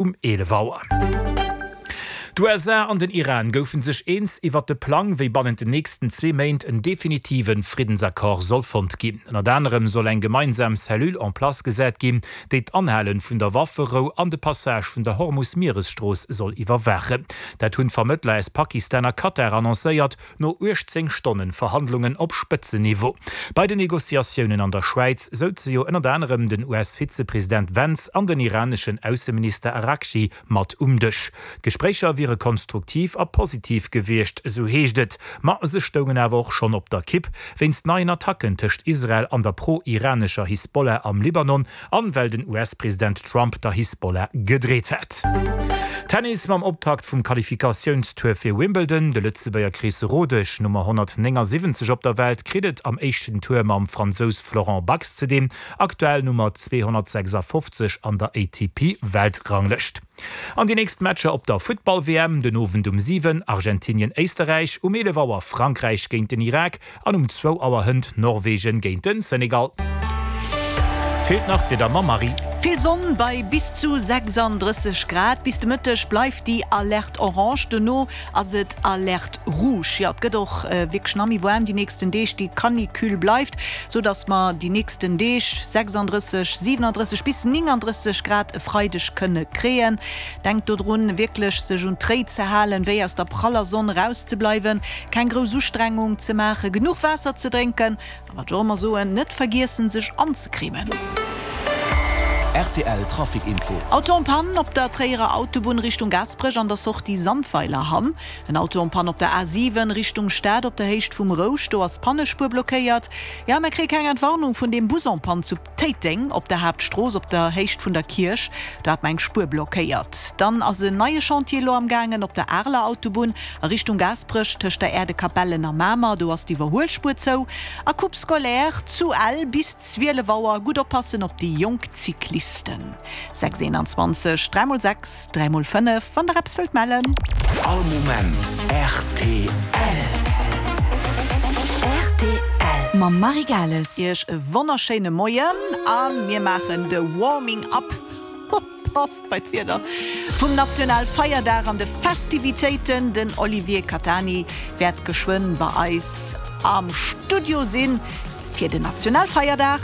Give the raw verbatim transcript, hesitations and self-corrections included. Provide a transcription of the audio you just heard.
um eelef Auer. D'USA an den Iran goufe sech eens iwwert de Plang, wéi bannent den nächsten zwee Méint en definitive Friddensaccord soll fonnt ginn. Ënnert anerem soll eng gemeinsam Cellule en place gesat ginn, déi d'Anhale vun der Wafferou an de Passage vun der Hormus-Mieresstrooss soll iwwerwaachen. Dat hunn d'Vermëttler aus Pakistan a Katar annoncéiert, no uechtzéng Stonnen Verhandlungen op Spëtzenniveau. Bei den Negociatiounen an der Schwäiz souze jo ënnert anerem den U S-Vizepresident Vance an den iraneschen Ausseminister Araghchi mat um Dësch. D'Gespréicher wiere konstruktiv a positiv gewiescht, esou heescht et. Ma se stoungen awer och schonn op der Kipp, wéinst neien Attacken tëscht Israel an der pro-iranescher Hisbollah am Libanon an well den U S-President Trump der Hisbollah gedreet hätt. Tennis mam Optakt vum Qualifikatiounstour fir Wimbledon, De Lëtzebuerger Chris Rodesch, Nummer honnertnéngasiwwenzeg op der Welt, kritt et am éischten Tour mam Fransous Florent Bax ze dinn, aktuell Nummer zweehonnertsechsafofzeg an der A T P-Weltranglëscht. An déi nächst Matcher op der Futtball-W M, den Owend um siwen Argentinien-Éisterräich, um eelef Auer Frankräich géint den Irak an um zwou Auer hënt Norwegen géint den Senegal. Feelt nach d'Wieder mam Marie. Vill Sonn bei bis zu sechsanddrësseg Grad. Bis de Mëtteg bleift déi Alerte orange, dono ass et Alerte rouge. Jo, et gëtt och wierklech nach méi waarm déi nächsten Deeg, déi Canicule bleift, sou dass mer déi nächsten Deeg sechsanddrësseg, siwenandrësseg bis néngandrësseg Grad e Freideg kënne kréien. Denkt dodrun, wierklech sech un d'Réit ze halen, wéi aus der praller Sonn erauszebleiwen, keng grouss Ustrengung ze maachen, genuch Waasser ze drénken a wat ech och ëmmer soen, net vergiessen sech anzecremen. R T L Trafic Info. Auto en panne op der Tréierer Autobunn Richtung Gaasperech an der Sortie Sandweilerhamm. En Auto en panne op der A siwen Richtung Stad op der Héicht vum Rousch, do ass d'Pannespuer blockéiert. Jo, mir kréie keng Entwarnung vun deem Bus en panne zu Téiteng op der Haaptstrooss op der Héicht vun der Kierch, do hat mer eng Spuer blockéiert. Dann ass en neie Chantier elo am gaangen op der Areler Autobunn a Richtung Gaasperech tëscht der Aerdekapellen a Mamer, do ass d'Iwwerhuelspuer zou. A Coupe scolaire zu Ell bis zwielef Auer, gutt oppassen op déi jonk Cyclisten. Sechs eenanzwanzeg, dräi mol sechs, dräi mol fënnef, wann der eppes wëllt mellen. All Moment rtl. Rtl mam Marie Gales. Iech e wonnerschéine Moien a mir maachen de Warming Up, passt bei d'Wieder, vum Nationalfeierdag an de Festivitéiten. Den Olivier Catani wäert geschwënn bei eis am Studio sinn fir den Nationalfeierdag.